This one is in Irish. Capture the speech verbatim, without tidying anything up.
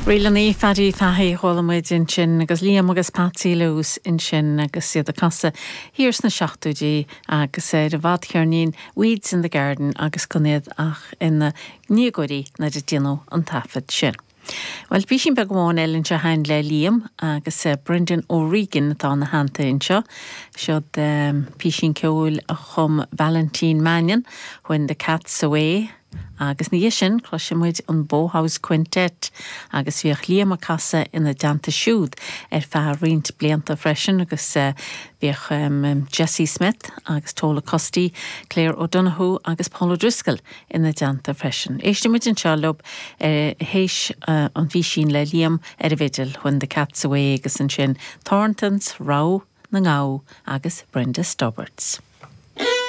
Ríleanna Phaddy Fahey chuala muid ansin agus Liam agus Patsy Lewis ansin agus iad ag casadh thiar sna seachtóidí agus ar an bhfadcheirnín Weeds in the Garden agus gan iad ach ina ndéagóirí nuair a déanadh an taifead sin. Well písín beag amháin eile anseo againn le Liam agus uh, Brendan O'Regan atá ina theannta anseo. Siod um, písín ceoil a chum Valentine Mannion, When the Cat's Away, agus ní sin cloisfimid an Bowhouse Quintet agus bhíodh Liam ag casadh ina dteannta siúd ar feadh roinnt blianta freisin agus uh, bhíodh um, Jesse Smith agus Tola Custy, Claire O'Donoghue agus Paul O'Driscoll ina dteannta freisin. Éistfimid anseo leo uh, théis uh, an phísín le Liam ar an bhfidil When the Cat's Away agus ansin Thorntons Rogha na nGabha agus Brenda Stobbarts.